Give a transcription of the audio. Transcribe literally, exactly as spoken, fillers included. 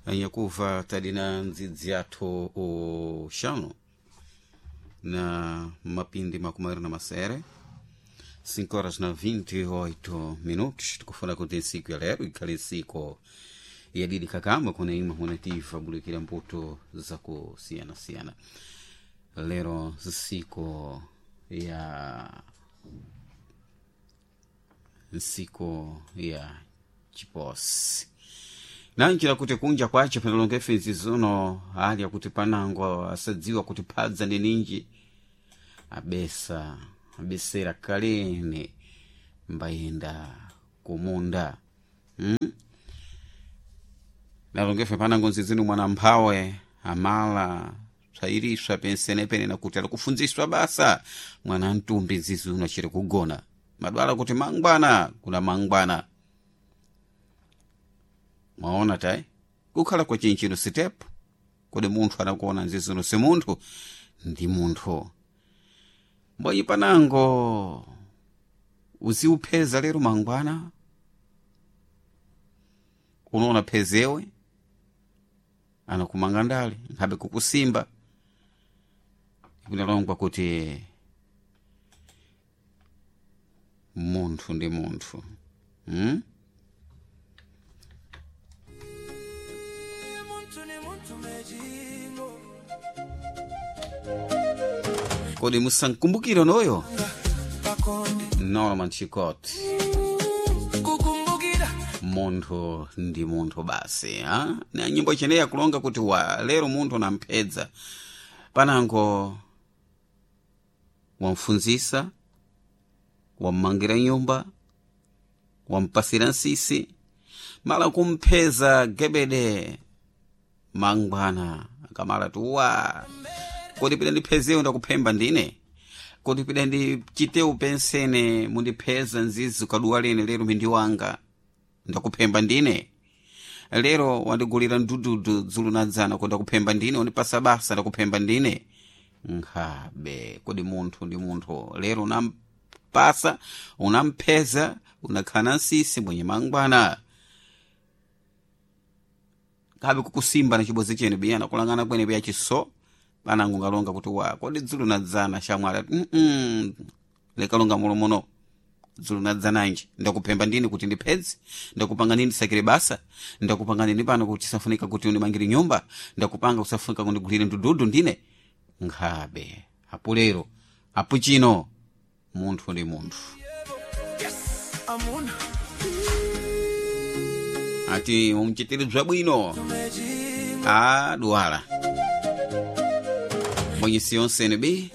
Anyakuva tadina ndzidzi yathu uxanu na mapindi makumi mawiri na masere cinco horas na vinte e oito minutos. Tikufuna kuti ntsiku ya lero ikhale ntsiku yadidi kakamba kuna imwe hunativa bulikira mbuto zakusiyana-siyana. Lero nsiku ya nsiku ya chiposi nanjira kuti kunja kwace panalonga ifenzi zino hali yakuti panango asadziwa kuti phadza ndi ninji abesa abesera kalene mbayenda kumunda hmm? Nalongefe panango nzizinu mwana mphawe amala psayiriswa pensenepene nakuti alikufunziswa basa mwana mtumbi nzizuno achiri kugona madwala kuti mangwana kuna mangwana mwaona tai kukhala kwa chinchino sitepu kodi munthu anakuona nzizuno si munthu ndi munthu mbonyi panango uziupheza lero mangwana unoona phezewe anakumanga ndale nkhabe kukusimba ikunalongwa kuti munthu ndi munthu hmm? Muntu ni muntu mejingo Kodi musankumbukire noyo pakonde Norman Chikoti kukumbukira munthu ndi munthu basi ha? Na nyimbo icheneyi akulonga kuti wa lero munthu namphedza panango wamfunzisa wammangira nyumba wampasira nsisi mala kumpheza gebede mangwana akamala tuwa kodi pida ndiphezewo ndakuphemba ndine kodi pida ndichitewu pensene mundipheza nzizi kaduwa lene lero mindi wanga ndakuphemba ndine lero wandigulira mdududu dzulu nadzana ko ndakuphemba ndine wandipasa basa ndakuphemba ndine nkhabe kodi munthu ndi munthu lero unampasa unampheza unakhala na nsisi mwenye mangwana kabe kukusimba na chibozi chene biyana kulangana kwene biya chiso panango ngalonga kuti wa kodi dzulu nadzana shamwali mm -mm. Lekalonga mulomono dzulu nadzananji ndakuphemba ndini kuti ndiphedze ndakupanga nini ndisakire basa ndakupanga nini pano kuti safunika kuti undimangire nyumba ndakupanga kusafunika kundigulire ndududu ndine nkhabe apo lero apo chino munthu ndi munthu. Amuna Ati umchitire bwino mejingo a duwala mwenyisi yonsene bi